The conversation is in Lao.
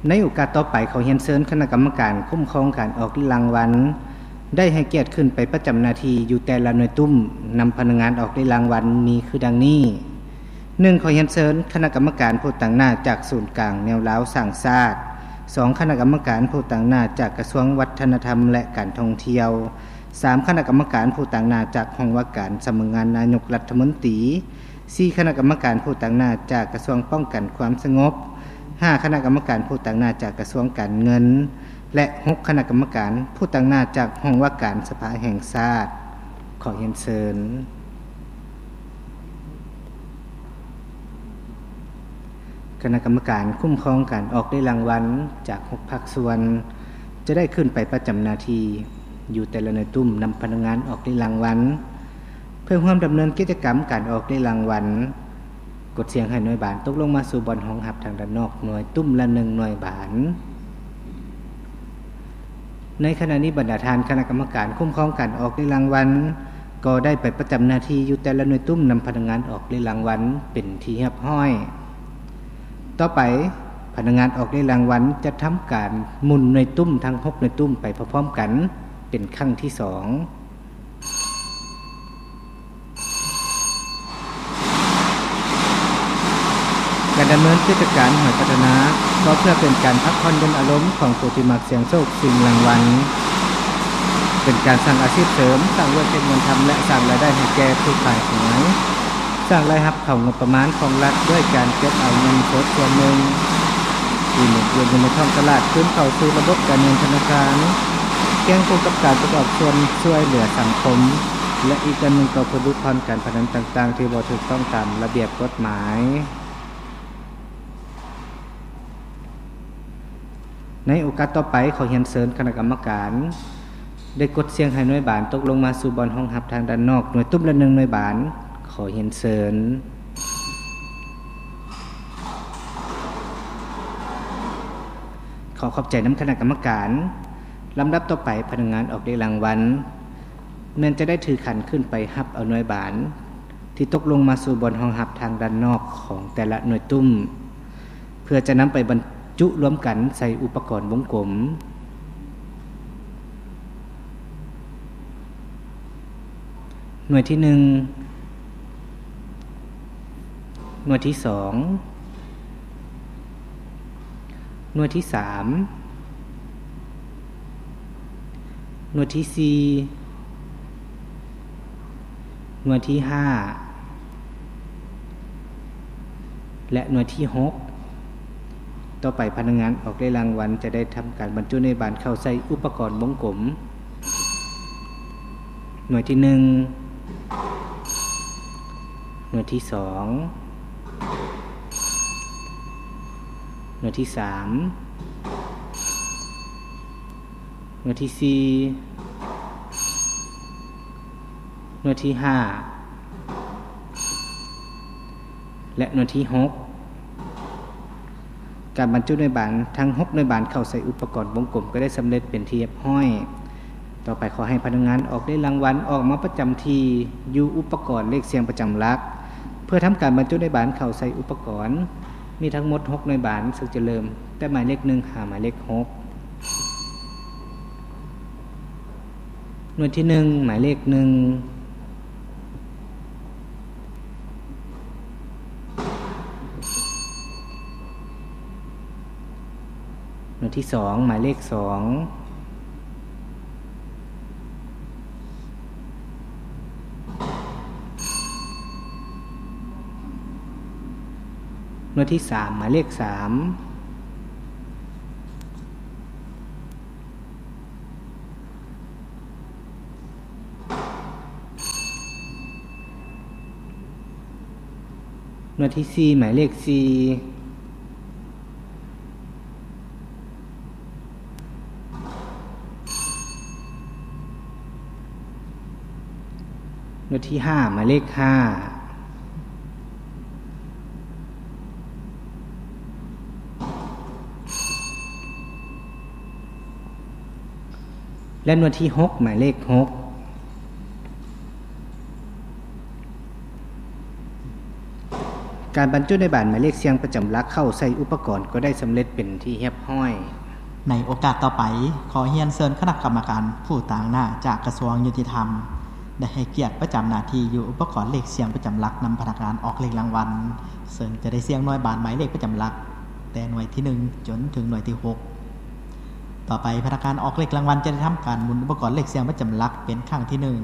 ໃນໂອກາດຕໍ່ໄປ, ຂໍຮຽນເຊີນຄະນະກຳມະການຄຸ້ມຄອງການອອກເລກລາງວັນ ໄດ້ໃຫ້ກຽດຂຶ້ນໄປປະຈຳໜ້າທີ່ຢູ່ແຕ່ລະໜ່ວຍຕຸ້ມ ນຳພະນັກງານອອກເລກລາງວັນມີຄືດັ່ງນີ້: ໜຶ່ງ ຂໍຮຽນເຊີນຄະນະກຳມະການຜູ້ຕາງໜ້າຈາກສູນກາງແນວລາວສ້າງຊາດ, ສອງ ຄະນະກຳມະການຜູ້ຕາງໜ້າຈາກກະຊວງວັດທະນະທຳ ແລະ ການທ່ອງທ່ຽວ, ສາມ ຄະນະກຳມະການຜູ້ຕາງໜ້າຈາກຫ້ອງວ່າການສຳນັກງານນາຍົກລັດຖະມົນຕີ, ສີ່ ຄະນະກຳມະການຜູ້ຕາງໜ້າຈາກກະຊວງປ້ອງກັນຄວາມສະຫງົບ, ຫ້າ ຄະນະກຳມະການຜູ້ຕາງໜ້າຈາກກະຊວງການເງິນ ແລະ ຫົກ ຄະນະກຳມະການຜູ້ຕາງໜ້າຈາກຫ້ອງວ່າການສະພາແຫ່ງຊາດ. ຂໍຮຽນເຊີນ. ຄະນະກຳມະການຄຸ້ມຄອງການອອກເລກລາງວັນຈາກຫົກພາກສ່ວນ ຈະໄດ້ຂຶ້ນໄປປະຈຳໜ້າທີ່ຢູ່ແຕ່ລະໜ່ວຍຕຸ້ມ ນຳພະນັກງານອອກເລກລາງວັນ ເພື່ອຮ່ວມດຳເນີນກິດຈະກຳການອອກເລກລາງວັນ. ກົດສຽງໃຫ້ໜ່ວຍບານຕົກລົງມາສູ່ບ່ອນຮອງຮັບທາງດ້ານນອກໜ່ວຍຕຸ້ມລະໜຶ່ງໜ່ວຍບານ. ໃນຂະນະນີ້, ບັນດາທ່ານຄະນະກຳມະການຄຸ້ມຄອງການອອກເລກລາງວັນ ກໍໄດ້ໄປປະຈຳໜ້າທີ່ຢູ່ແຕ່ລະໜ່ວຍຕຸ້ມ ນຳພະນັກງານອອກເລກລາງວັນເປັນທີ່ຮຽບຮ້ອຍ. ຕໍ່ໄປ, ພະນັກງານອອກເລກລາງວັນຈະທຳການໝູນໜ່ວຍຕຸ້ມທັງຫົກໜ່ວຍຕຸ້ມໄປພ້ອມໆກັນເປັນຄັ້ງທີສອງ. ການດຳເນີນກິດຈະການຫວຍພັດທະນາ ກໍເພື່ອເປັນການພັກຜ່ອນຢ່ອນອາລົມຂອງຜູ້ທີ່ມັກສ່ຽງໂຊກຊິງລາງວັນ, ເປັນການສ້າງອາຊີບເສີມ, ສ້າງວຽກເຮັດງານທຳ ແລະ ສ້າງລາຍໄດ້ໃຫ້ແກ່ຜູ້ຂາຍຫວຍ, ສ້າງລາຍຮັບເຂົ້າງົບປະມານຂອງລັດດ້ວຍການເກັບເອົາເງິນສົດສ່ວນໜຶ່ງທີ່ໝູນວຽນຢູ່ໃນທ້ອງຕະຫຼາດຄືນເຂົ້າສູ່ລະບົບການເງິນທະນາຄານ, ຄຽງຄູ່ກັບການປະກອບສ່ວນຊ່ວຍເຫຼືອສັງຄົມ ແລະ ອີກດ້ານໜຶ່ງກໍເພື່ອຫຼຸດຜ່ອນການພະນັນຕ່າງໆທີ່ບໍ່ຖືກຕ້ອງຕາມລະບຽບກົດໝາຍ. ໃນໂອກາດຕໍ່ໄປ, ຂໍຮຽນເຊີນຄະນະກຳມະການ ໄດ້ກົດສຽງໃຫ້ໜ່ວຍບານຕົກລົງມາສູ່ບ່ອນຮອງຮັບທາງດ້ານນອກໜ່ວຍຕຸ້ມລະໜຶ່ງໜ່ວຍບານ. ຂໍຮຽນເຊີນ. ຂໍຂອບໃຈນຳຄະນະກຳມະການ. ລຳດັບຕໍ່ໄປ, ພະນັກງານອອກເລກລາງວັນ ແມ່ນຈະໄດ້ຖືຂັນຂຶ້ນໄປຮັບເອົາໜ່ວຍບານ ທີ່ຕົກລົງມາສູ່ບ່ອນຮອງຮັບທາງດ້ານນອກຂອງແຕ່ລະໜ່ວຍຕຸ້ມ ເພື່ອຈະນຳໄປບັນຈຸລວມກັນໃສ່ອຸປະກອນວົງກົມ. ໜ່ວຍທີໜຶ່ງ, ໜ່ວຍທີສອງ, ໜ່ວຍທີສາມ, ໜ່ວຍທີສີ່, ໜ່ວຍທີຫ້າ ແລະ ໜ່ວຍທີຫົກ. ຕໍ່ໄປ, ພະນັກງານອອກເລກລາງວັນຈະໄດ້ທຳການບັນຈຸໜ່ວຍບານເຂົ້າໃສ່ອຸປະກອນວົງກົມ. ໜ່ວຍທີໜຶ່ງ, ໜ່ວຍທີສອງ, ໜ່ວຍທີສາມ, ໜ່ວຍທີສີ່, ໜ່ວຍທີຫ້າ ແລະ ໜ່ວຍທີຫົກ. ການບັນຈຸໜ່ວຍບານທັງຫົກໜ່ວຍບານເຂົ້າໃສ່ອຸປະກອນວົງກົມກໍໄດ້ສຳເລັດເປັນທີ່ຮຽບຮ້ອຍ. ຕໍ່ໄປ, ຂໍໃຫ້ພະນັກງານອອກເລກລາງວັນອອກມາປະຈຳທີ່ຢູ່ອຸປະກອນເລກສ່ຽງປະຈຳຫຼັກ ເພື່ອທຳການບັນຈຸໜ່ວຍບານເຂົ້າໃສ່ອຸປະກອນ. ມີທັງໝົດຫົກໜ່ວຍບານ, ເຊິ່ງຈະເລີ່ມແຕ່ໝາຍເລກໜຶ່ງຫາໝາຍເລກຫົກ. ໜ່ວຍທີໜຶ່ງ ໝາຍເລກໜຶ່ງ, ໜ່ວຍທີສອງ ໝາຍເລກສອງ, ໜ່ວຍທີສາມ ໝາຍເລກສາມ. ໜ່ວຍທີສີ່ ໝາຍເລກສີ່, ໜ່ວຍທີຫ້າ ໝາຍເລກຫ້າ, ແລະ ໜ່ວຍທີຫົກ ໝາຍເລກຫົກ. ການບັນຈຸໜ່ວຍບານໝາຍເລກສ່ຽງປະຈຳຫຼັກເຂົ້າໃສ່ອຸປະກອນກໍໄດ້ສຳເລັດເປັນທີ່ຮຽບຮ້ອຍ. ໃນໂອກາດຕໍ່ໄປ, ຂໍຮຽນເຊີນຄະນະກຳມະການຜູ້ຕາງໜ້າຈາກກະຊວງຍຸຕິທຳ ໄດ້ໃຫ້ກຽດປະຈຳໜ້າທີ່ຢູ່ອຸປະກອນເລກສ່ຽງປະຈຳຫຼັກນຳພະນັກງານອອກເລກລາງວັນ, ເຊິ່ງຈະໄດ້ສ່ຽງໜ່ວຍບານໝາຍເລກປະຈຳຫຼັກ ແຕ່ໜ່ວຍທີໜຶ່ງຈົນເຖິງໜ່ວຍທີຫົກ. ຕໍ່ໄປ, ພະນັກງານອອກເລກລາງວັນຈະໄດ້ທຳການໝູນອຸປະກອນເລກສ່ຽງປະຈຳຫຼັກເປັນຄັ້ງທີໜຶ່ງ.